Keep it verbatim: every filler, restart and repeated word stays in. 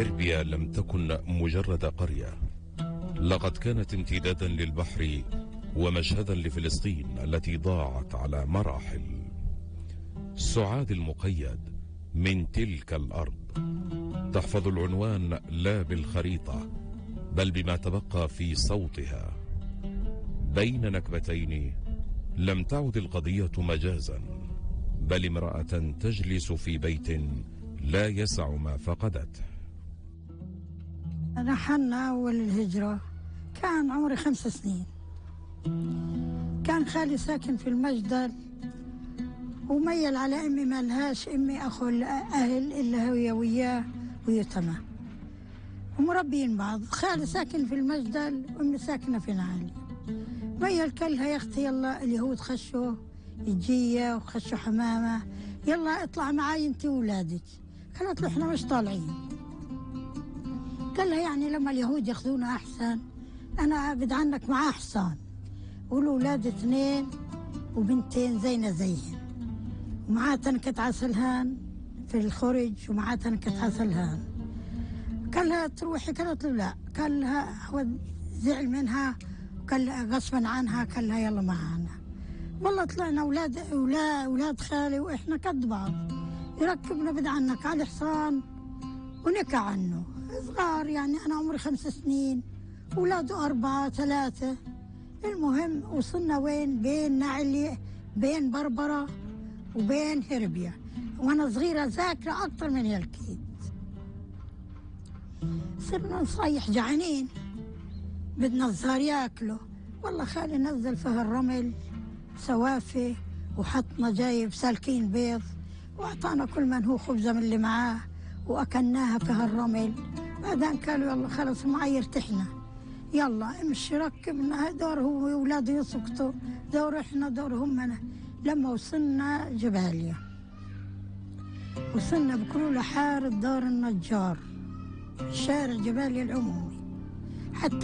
هربيا لم تكن مجرد قرية، لقد كانت امتدادا للبحر ومشهدا لفلسطين التي ضاعت على مراحل. سعاد المقيد من تلك الأرض تحفظ العنوان لا بالخريطة بل بما تبقى في صوتها. بين نكبتين لم تعد القضية مجازا، بل امرأة تجلس في بيت لا يسع ما فقدته. رحلنا أول الهجرة كان عمري خمس سنين. كان خالي ساكن في المجدل وميل على أمي، ما لهاش أمي أخو الأهل إلا هي وياه ويتمى ومربين بعض. خالي ساكن في المجدل وأمي ساكنة في نعالي. ميل كلها يا أختي يلا اليهود خشوا الجية وخشوا حمامة، يلا اطلع معاي انت وولادك. قالت له احنا مش طالعين. قال لها يعني لما اليهود ياخذونا احسن، انا بدي عنك معاه حصان والولاد اثنين وبنتين زينا زيهن، ومعاه تنكة عسلهان في الخرج ومعاه تنكة عسلهان. قال لها تروحي؟ قالت له لا. قال لها هو زعل منها وقال لها غصبا عنها، قال لها يلا معانا. والله طلعنا اولاد اولاد اولاد خالي واحنا قد بعض، يركبنا بدي عنك على حصان ونكى عنه صغار، يعني انا عمري خمس سنين اولاده اربعه ثلاثه. المهم وصلنا وين؟ بين نعلي، بين بربره وبين هربيا، وانا صغيره ذاكره اكثر من هالكيد. صرنا نصيح جعانين بدنا الزهر ياكله. والله خالي نزل فيها الرمل سوافي وحطنا جايب سالكين بيض واعطانا كل من هو خبزه من اللي معاه واكلناها فيها الرمل. بعدين قالوا يلا خلص معي ارتحنا، يلا امشي ركبنا. دور هو واولاده يسقطوا، دور احنا، دور هم. لما وصلنا جباليا وصلنا بكل حارة دار النجار، شارع جباليا العمومي. حتى